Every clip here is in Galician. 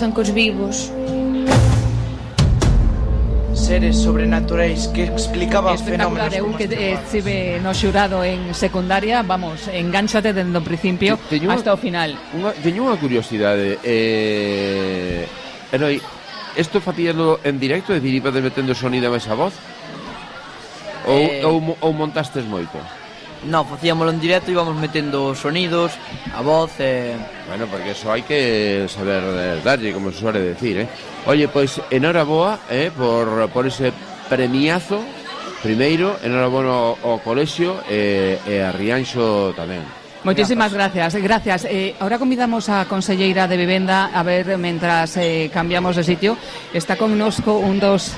Son cos vivos. Seres sobrenaturais que explicaban espectacular. fenómenos. Eu que estive no xurado en secundaria, vamos, engánchate dende o principio hasta o final. Teño unha curiosidade. Eroi, isto facíalo en directo, é dicir, ibades metendo sonido a esa voz? Ou montastes moito? No, facíamoslo en directo, íbamos metendo sonidos, a voz. Bueno, porque eso hai que saber darlle, como se suele decir, Oye, pois, enhoraboa, por ese premiazo. Primeiro, enhoraboa ao colexio e a Rianxo tamén. Moitísimas gracias. Ahora convidamos a conselleira de Vivenda a ver, mentras cambiamos de sitio, está connosco un dos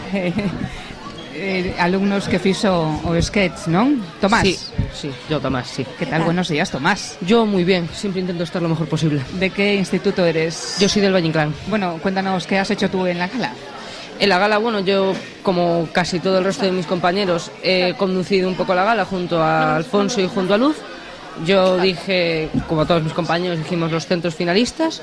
alumnos que fixo o sketch, non? Tomás. Sí, yo Tomás, sí. ¿Qué tal? Buenos días, Tomás. Yo muy bien, siempre intento estar lo mejor posible. ¿De qué instituto eres? Yo soy del Valle Inclán. Bueno, cuéntanos, ¿qué has hecho tú en la gala? En la gala, bueno, yo, como casi todo el resto de mis compañeros, he conducido un poco la gala junto a Alfonso y junto a Luz. Yo dije, como todos mis compañeros, dijimos los centros finalistas.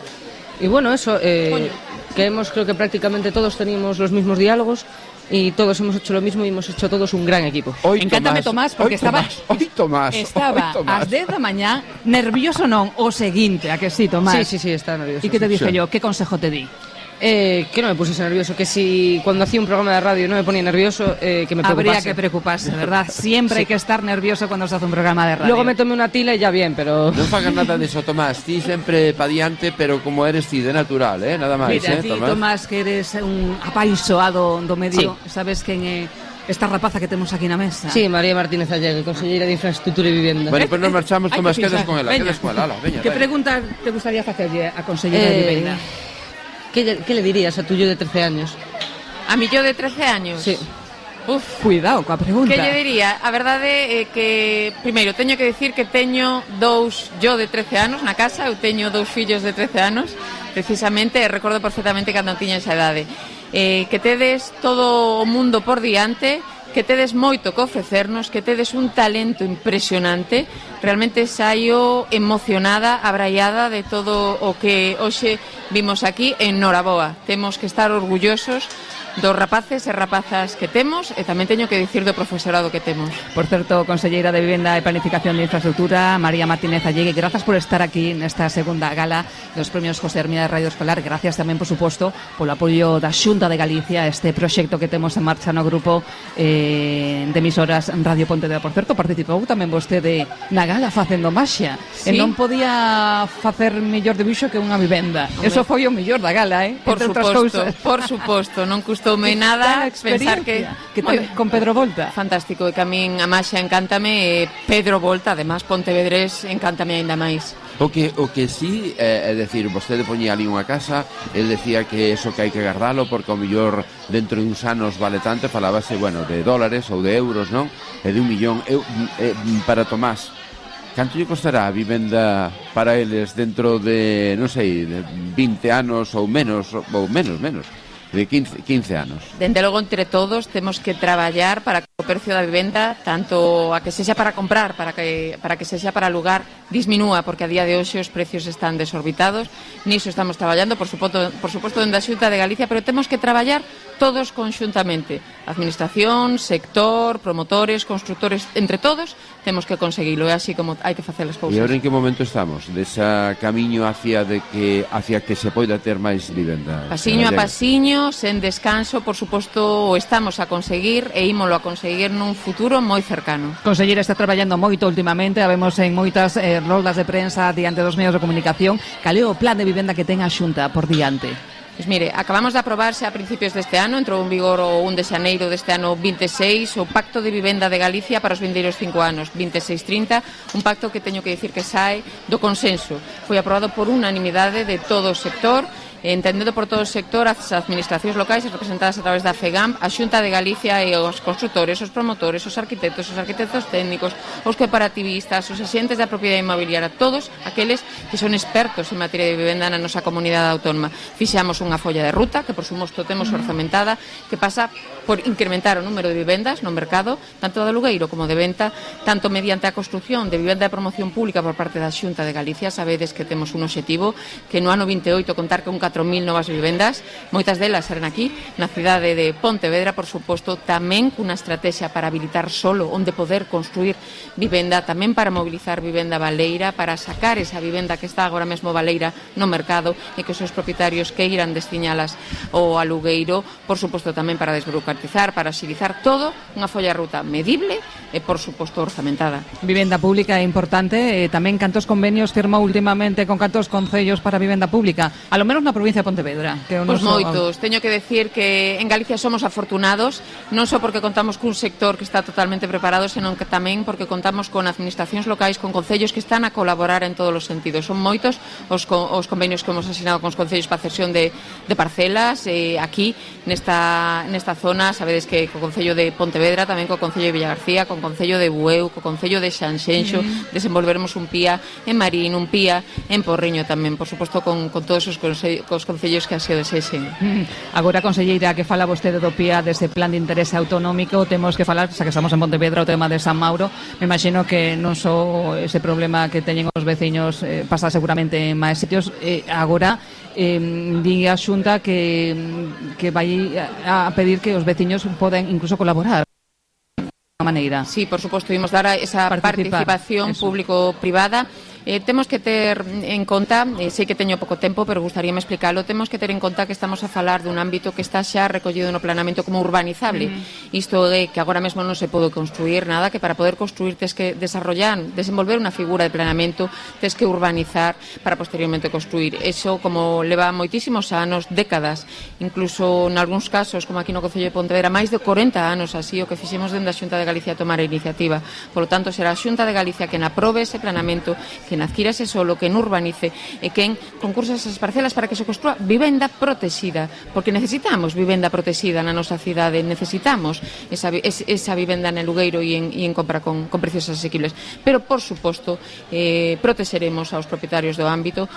Y bueno, eso, creo que prácticamente todos teníamos los mismos diálogos y todos hemos hecho lo mismo y hemos hecho todos un gran equipo. Encántame, Tomás, porque estaba ás 10 da mañá nervioso non, o seguinte, a que sí, Tomás? Sí, está nervioso. ¿Y qué te dije yo? ¿Qué consejo te di? Que no me pusiese nervioso, que si cuando hacía un programa de radio no me ponía nervioso, que me preocupase. Habría que preocuparse, ¿verdad? Siempre hay que estar nervioso cuando se hace un programa de radio. Luego me tomé una tila y ya bien, pero... Non fagas nada diso, Tomás. Ti sempre pa diante, pero como eres ti, de natural, nada máis, Mira, ti, Tomás, que eres un apaixoado do medio, sabes quen é esta rapaza que temos aquí na mesa? Sí, María Martínez Allegue, conselleira de Infraestructura e Vivenda. Bueno, pues nos marchamos, Tomás, quedas con ela, veña. Que pregunta te gustaría facerlle a conselleira de Vivenda? ¿Qué le dirías a tu yo de 13 años? A mi yo de 13 años? Sí. Cuidado coa pregunta. Que lle diría? A verdade é que, primeiro, teño que dicir que teño dous yo de 13 anos na casa. Eu teño dous fillos de 13 anos, precisamente, e recordo perfectamente cando tiña esa idade. Que tedes todo o mundo por diante, que tedes moito que ofrecernos, que tedes un talento impresionante. Realmente saio emocionada, abraiada de todo o que hoxe vimos aquí en Noraboa. Temos que estar orgullosos dos rapaces e rapazas que temos e tamén teño que dicir do profesorado que temos. Por certo, conselleira de Vivenda e Planificación de Infraestructura, María Martínez Allegue, grazas por estar aquí nesta segunda gala dos premios José Hermida de Radio Escolar. Gracias tamén, por suposto, polo apoio da Xunta de Galicia a este proxecto que temos en marcha no grupo de emisoras Radio Pontevedra. Por certo, participou tamén vostede na gala facendo maxia. Sí. E non podía facer mellor debuxo que unha vivenda. Eso foi o mellor da gala, Por suposto, non custoume nada pensar que con Pedro Volta. Fantástico, e que a min a maxia encántame, e Pedro Volta, además Pontevedrés, encántame aínda máis. O que sí, é dicir, vostede poñía ali unha casa, el decía que eso que hai que guardalo porque ao mellor dentro de uns anos vale tanto, falábase, bueno, de dólares ou de euros, non? E de 1 millón. Para Tomás, canto lle costará a vivenda para eles dentro de, non sei, de 20 anos ou menos, de 15 anos? Dende logo, entre todos, temos que traballar para que o precio da vivenda, tanto a que sexa para comprar, para que sexa para alugar, disminúa, porque a día de hoxe os precios están desorbitados. Niso estamos traballando, por suposto, dende a Xunta de Galicia, pero temos que traballar todos conxuntamente. Administración, sector, promotores, constructores, entre todos, temos que conseguilo. É así como hai que facer as cousas. E agora en que momento estamos? Desa camiño hacia que se poida ter máis vivenda? Pasiño a pasiño, sen descanso, por suposto, o estamos a conseguir e ímolo a conseguir nun futuro moi cercano. Conselleira está traballando moito últimamente, a vemos en moitas roldas de prensa diante dos medios de comunicación. Cal é o plan de vivenda que ten a Xunta por diante? Pois mire, acabamos de aprobarse a principios deste ano, entrou en vigor o 1 de xaneiro deste ano 26, o Pacto de Vivenda de Galicia para os vindeiros 5 anos, 26-30, un pacto que teño que dicir que sae do consenso. Foi aprobado por unanimidade de todo o sector, entendendo por todo o sector, as administracións locais representadas a través da FEGAM, a Xunta de Galicia e os constructores, os promotores, os arquitectos técnicos, os cooperativistas, os axentes da propiedade inmobiliaria, todos aqueles que son expertos en materia de vivenda na nosa comunidade autónoma. Fixamos unha folla de ruta, que por suposto temos orzamentada, que pasa por incrementar o número de vivendas no mercado, tanto de alugueiro como de venta, tanto mediante a construción de vivenda de promoción pública por parte da Xunta de Galicia. Sabedes que temos un obxectivo que no ano 28 contar con un 4.000 novas vivendas, moitas delas serán aquí na cidade de Pontevedra, por suposto, tamén cunha estrategia para habilitar solo onde poder construir vivenda, tamén para mobilizar vivenda baleira, para sacar esa vivenda que está agora mesmo baleira no mercado e que os seus propietarios que irán destiñalas ao alugueiro, por suposto tamén para desburocratizar, para axilizar todo, unha folla de ruta medible e, por suposto, orzamentada. Vivenda pública é importante, tamén cantos convenios firmou últimamente con cantos concellos para vivenda pública, a lo menos na provincia de Pontevedra. Pois moitos, teño que decir que en Galicia somos afortunados, non só porque contamos cun sector que está totalmente preparado, senón que tamén porque contamos con administracións locais, con concellos que están a colaborar en todos os sentidos. Son moitos os convenios que hemos asinado con os concellos para cesión de parcelas, aquí nesta zona, sabedes que co concello de Pontevedra, tamén co concello de Villagarcía, con concello de Bueu, co concello de Sanxenxo, desenvolveremos un PIA en Marín, un PIA en Porriño tamén, por suposto con todos os concellos que así o desexen. Agora, conselleira, que fala vostede do PIA dese plan de interese autonómico, temos que falar, xa que estamos en Pontevedra, o tema de San Mauro. Me imagino que non só ese problema que teñen os veciños pasa seguramente en máis sitios. Agora di a Xunta que vai a pedir que os veciños poden incluso colaborar de maneira. Sí, por suposto, imos dar esa participación público-privada. Temos que ter en conta, sei que teño pouco tempo, pero gustaríame explicarlo, temos que ter en conta que estamos a falar dun ámbito que está xa recollido no planeamento como urbanizable. Isto é que agora mesmo non se pode construir nada, que para poder construir tes que desenvolver unha figura de planeamento, tes que urbanizar para posteriormente construir. Eso, como leva moitísimos anos, décadas, incluso en algúns casos, como aquí no Concello de Pontevedra, máis de 40 anos así, o que fixemos dende a Xunta de Galicia a tomar a iniciativa. Por lo tanto, será a Xunta de Galicia quen aprobe ese planeamento, quen adquira ese solo, quen urbanice e quen concursa esas parcelas para que se construa vivenda protexida, porque necesitamos vivenda protexida na nosa cidade, necesitamos esa vivenda en alugueiro e en compra con precios asequibles, pero por suposto protexeremos aos propietarios do ámbito,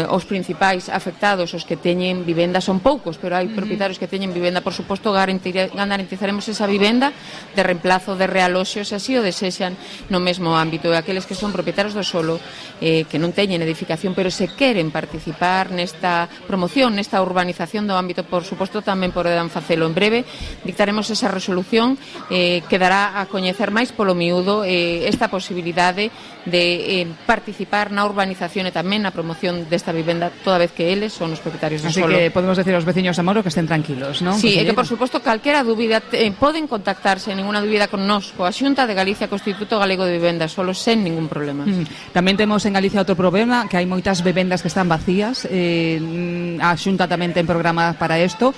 os principais afectados, os que teñen vivenda son poucos, pero hai propietarios que teñen vivenda, por suposto garantizaremos esa vivenda de reemplazo, de realoxo, se así o desexan no mesmo ámbito, e aqueles que son propietarios do solo que non teñen edificación, pero se queren participar nesta promoción, nesta urbanización do ámbito, por suposto tamén poderán facelo. En breve dictaremos esa resolución que dará a coñecer máis polo miúdo esta posibilidade de participar na urbanización e tamén na promoción desta vivenda, toda vez que eles son os propietarios do solo. Así que podemos decir aos veciños de Moro que estén tranquilos, non? Sí, e que por suposto calquera dúbida poden contactarse, ninguna dúbida con nós, coa Xunta de Galicia, co Instituto Galego de Vivenda, solo sen ningún problema. Tamén temos en Galicia outro problema, que hai moitas vivendas que están vacías, a Xunta tamén ten programa para isto,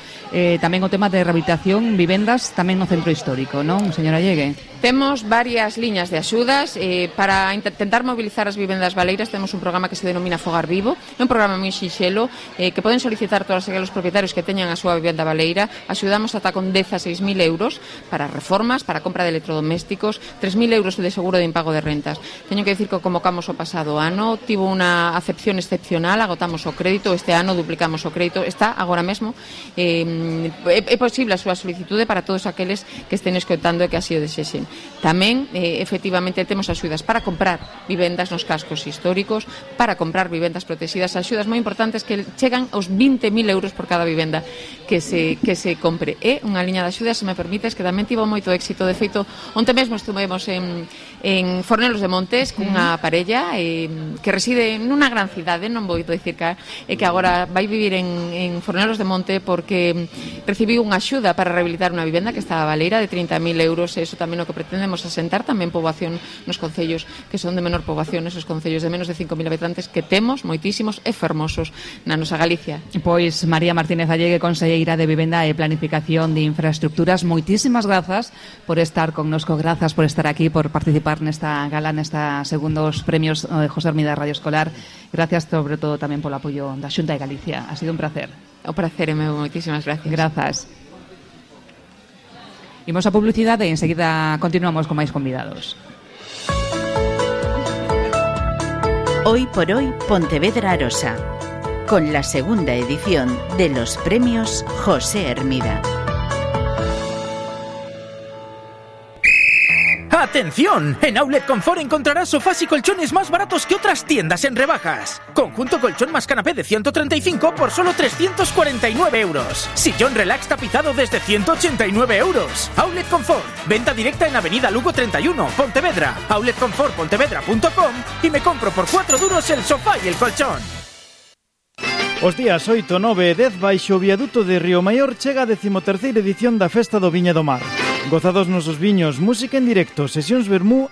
tamén o tema de rehabilitación, vivendas, tamén no centro histórico, non, señora Llegue? Temos varias liñas de axudas para intentar mobilizar as vivendas baleiras. Temos un programa que se denomina Fogar Vivo, é un programa moi sinxelo que poden solicitar todos aqueles propietarios que teñan a súa vivenda baleira. Axudamos ata con 16.000 euros para reformas, para compra de electrodomésticos, 3.000 euros de seguro de impago de rentas. Teño que decir que convocamos o pasado ano, tivo unha acepción excepcional, agotamos o crédito, este ano duplicamos o crédito, está agora mesmo, é posible a súa solicitude para todos aqueles que estén escoitando e que así o desexen. Tamén, efectivamente, temos axudas para comprar vivendas nos cascos históricos, para comprar vivendas protegidas, axudas moi importantes que chegan aos 20.000 euros por cada vivenda que se compre. É unha liña de axudas, se me permites, que tamén tivo moito éxito. De feito, onte mesmo estuvemos en Fornelos de Montes cunha parella que reside nunha gran cidade, non vou dicir que agora vai vivir en Fornelos de Monte porque recibiu unha axuda para rehabilitar unha vivenda que estaba baleira de 30.000 euros, e iso tamén o que pretendemos asentar tamén poboación nos concellos que son de menor poboación, esos concellos de menos de 5.000 habitantes que temos moitísimos e fermosos na nosa Galicia. Pois María Martínez Allegue, conselleira de Vivenda e Planificación de Infraestructuras, moitísimas grazas por estar connosco, grazas por estar aquí, por participar nesta gala, nesta segundos premios José Hermida Radio Escolar. Gracias sobre todo tamén polo apoio da Xunta de Galicia. Ha sido un placer. O prazer é meu, moitísimas gracias. Grazas. Imos a publicidade e enseguida continuamos con máis convidados. Hoy por hoy Pontevedra Arosa, con la segunda edición de los premios José Hermida. ¡Atención! En Outlet Confort encontrarás sofás y colchones más baratos que otras tiendas en rebajas. Conjunto colchón más canapé de 135 por solo 349 euros. Sillón relax tapizado desde 189 euros. Outlet Confort. Venta directa en Avenida Lugo 31, Pontevedra. outletconfortpontevedra.com y me compro por 4 duros el sofá y el colchón. Os días 8, 9 e 10 baixo o viaduto de Río Maior chega a 13ª edición da Festa do Viña do Mar. Gozados nosos viños, música en directo, sesións vermú